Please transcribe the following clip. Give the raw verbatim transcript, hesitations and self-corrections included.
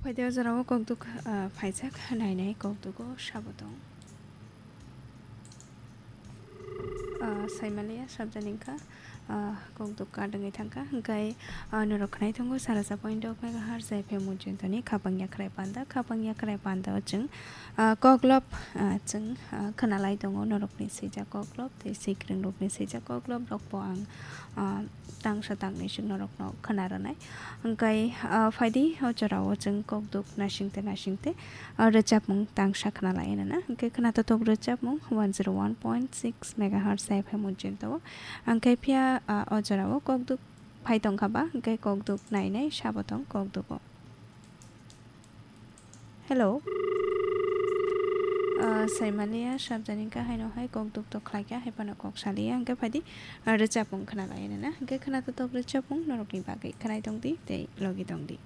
Phaidi o jorao kokduk, ah, phaijak, nainai kokdugo sabo tong. Ah, saimaliya sabjani wngkha, ah, kokduk kadwngwi thangkha, hwnkhe, ah, norok khwnai tongo sarasa point dok megahertz F M Mujintoni khapang yakhrai panda, khapang yakhrai panda o chwng, ah, koklop, ah, chwng, ah, khwnalai tongo norokni swijak koklop tei sikringrokni swijak koklop rokbo ang, ah, tangsa tangni chwng norokno khwna rwnai. Hwnkhe, ah, phaidi o jorao chwng kokduk naisingte naisingte, ah, rwchapmung tangsa khwna lai nana. Hwnkhe khwna totok rwchapmung one zero one point six megahertz F M Mujinto o. Hwnkhe phiya, ah, o jorao kokduk phai tongkha ba, hwnkhe kokduk nainai sabo tong kokdugo. Hello. Ah, saimaliya sabjani wngkha haino hai kokduk to khlaikha, hai phano kok saliya, hwnkhe phaidi, ah, rwchapmung khwna lai nana. Hwnkhe khwna totok rwchapmung norokni bagwi khwnai tongdi tei logi tongdi.